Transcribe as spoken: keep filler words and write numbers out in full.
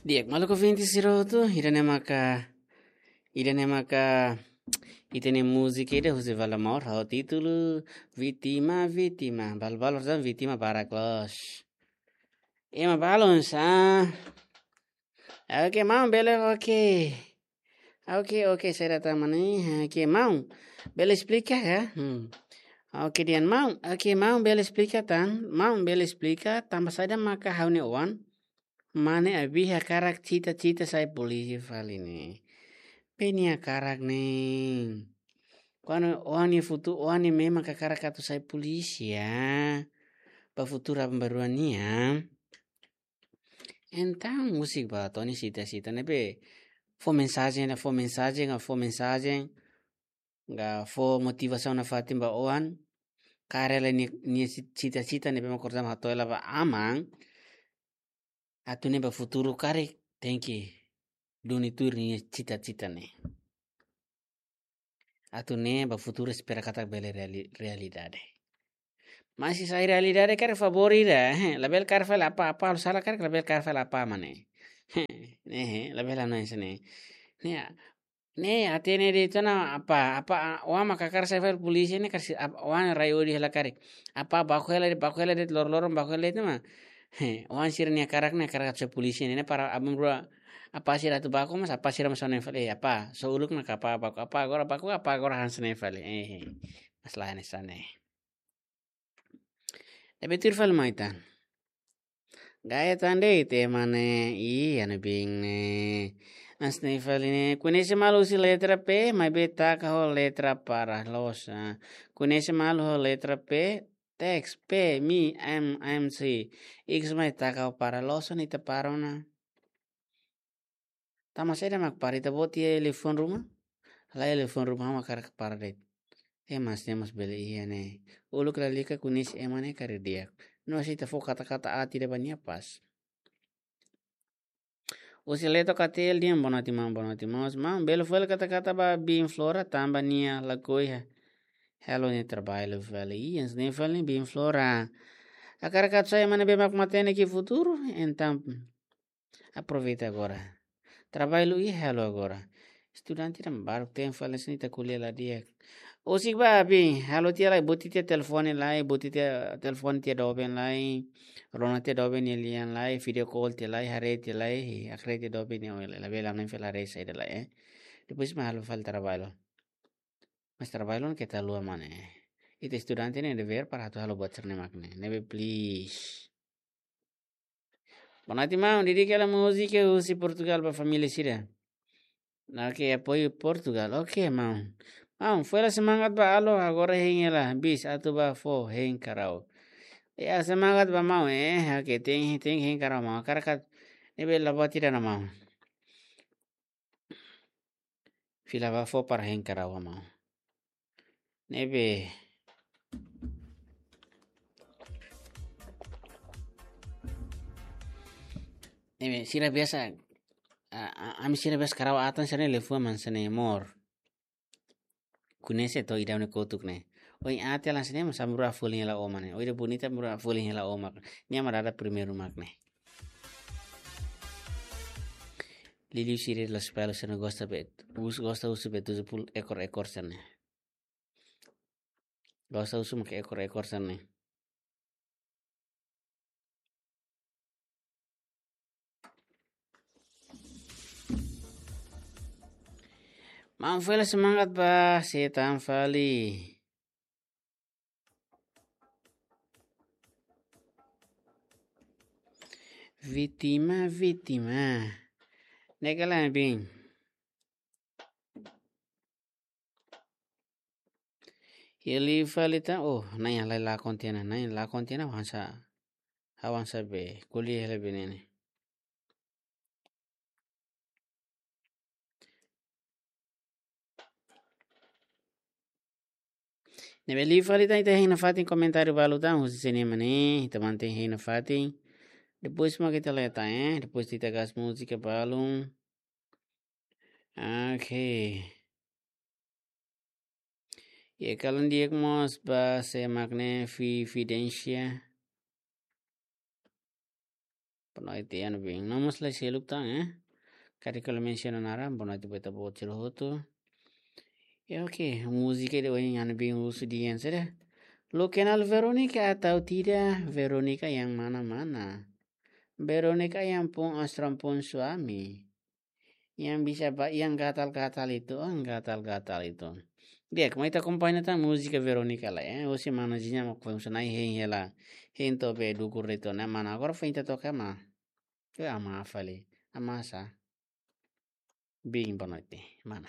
Di'ak, maluk ouvinte sira hotu, ida-ne'e maka, ida-ne'e maka, ita-nia múzika ida husi Vale Amor, ho títulu Vítima, Vítima, balu-balu tan vítima barak loos. Ema balun sa. Oke, maun, bele, oke. Oke, oke, saida tan mane. Oke, maun, bele esplika ka? Hmm. Oke, dehan maun. Oke, maun, bele esplika tan. Maun, bele esplika tanba saida maka ha'u-nia oan mane Abi hakarak cita-cita sai polísia fali ne'e. Be nia hakarak ne'e. Kuandu oan nia futu-, oan nia memang hakarak atu sai polísia, ba futuru aban-bainrua nian. Entaun, husik ba to'o nia cita-cita ne'ebé fó mensajen, fó mensajen, fó mensajen, ka fó motivasaun nafatin ba oan, karik nia, nia ci-, cita-cita ne'ebé mak orsida hato'o hela ba aman, atu ne'e ba futuru karik tenke duni tuir nia cita-cita ne'e. Atu ne'e ba futuru espera katak bele reali-, realidade. Mas se sai realidade karik favór ida, eh, labele karik fali apá, apá halo sala karik labele karik fali apá mane. Eh, eh, labele hanoin hanesan ne'e. Ne'e, ne'e, hatene de'it ona apá, apá, oan mak hakarak sai fali polísia ne'e karik, ap-, oan rai odi hela karik. Apá baku hela de'it, baku hela de'it, lor-loron baku hela de'it ona. He, oan sira-nia hakarak ne'e hakarak sai polísia ne'e, ne'e para aban-bainrua apá sira atu baku, mas apá sira mós hanoin fali, eh, apá, só uluk ona ka apá baku, apá agora baku, apá agora hanesan ne'e fali. Eh, eh. Mas lae hanesan ne'e. Ne'ebé tuir fali mai tan. Gaya tan de'it ema ne'e, ih, anu bin ne'e. Hanesan ne'e fali ne'e, koñese malu husi letra P, maibé taka ho letra para loos. Koñese malu ho letra P, teks P, mi, M, M, C. Ikus mai taka ho para loos, ita para ona. Tanba saida mak para, ita-boot iha liafuan ruma? Lae, liafuan ruma ha'u mak hakarak para de'it. Eh, mas ne'e mós bele iha ne'e. Uluk lalika koñese ema ne'e karik di'ak. No se ita fó kata-kata aat ida ba nia pas. Husi Leto Katel dehan boa noite maun, boa noite maun. Maun, bele fó hela kata-kata ba biin Flora tanba nia lakohi halo nia traballu fali. Ih, hanesan ne'e fali biin Flora. Hakarak atu sai ema ne'ebé mak matenek iha futuru, entaun aproveita agora. Traballu iha, halo agora. Estudante ida barak tenke fali hanesan ne'e, ita ko'alia la di'ak. Husik ba biin, halo tiha lai, buti tiha telefone lai, buti tiha telefone tiha doben lai, rona tiha doben nia lian lai, video call tiha lai, haree tiha lai, haree tiha doben nia oin lai, labele hanoin fali haree saida lai, eh. Depois mak halo fali traballu. Mas traballu ne'e keta haluha mane. Ita estudante nia devér para atu halo buat sira-ne'e mak ne'e. Ne'ebé please. Boa noite maun, dedika hela múzika husi Portugal ba família sira. Oke, apoiu Portugal. Oke, maun. Maun, fó hela semangat ba Alo, agora hein hela bis atu ba fó hein karau. Ya, semangat ba maun, eh, oke, tenke, tenke hein karau maun. Hakarak atu, ne'ebé la buat ida ona maun. Fila ba fó para hein karau maun. Ne'ebé. Ne'ebé, sira biasa, a, a, ami sira biasa karau atan sira-ne'e liafuan mak hanesan ne'e mor. Koñese to'o ida-ne'e kotuk ne'e. Oin aat hela hanesan ne'e, mas aban-bainrua folin hela ó mak ne'e. Oin ida bonita aban-bainrua folin hela ó mak. Nia mak dada primeiru mak ne'e. Liuliu sira la'ós pelu sira gosta bet. Us gosta husu bet tujuh puluh ekor-ekor sira-ne'e. Gosta husu mak ekor-ekor sira-ne'e. Maun fó hela semangat ba sé tan fali. Vítima, vítima. Ne'e ka lae biin. Iha liu fali tan, oh, na'in halai lakon tiha ona, na'in lakon tiha ona, avansa, avansa be, ko'alia hela be ne'e. Ne'ebé liu fali tan, ita hein nafatin komentáriu balu tan, husi sira-ne'e mak ne'e, ita mantein hein nafatin. Depois mak ita leta, eh, depois ita gas múzika balun. Oke. Iha kalan di'ak mós ba sé mak ne'e, Fi-, Fidência. Boa noite, Ana Bin. Namus lai seluk tan, eh? Kari kalau mensiona naran, boa noite buat ita-boot sira hotu. Ya, oke, múzika de oin Ana Bin husu dian sira. Lo kenal Veronica atau tidak? Veronica yang mana-mana? Veronica yang pun astron pun suami. Yang bisa ba, yang gatal-gatal itu, oh, gatal-gatal itu. Dia, kemarin kita akompaña tan múzika Veronica lai, eh. Husi mana jinya mau kau sana hein hela. Hein to be dukur itu, na mana agora foin ita toka ma. Ke ama fali, ama sa. Bin boa noite, mana?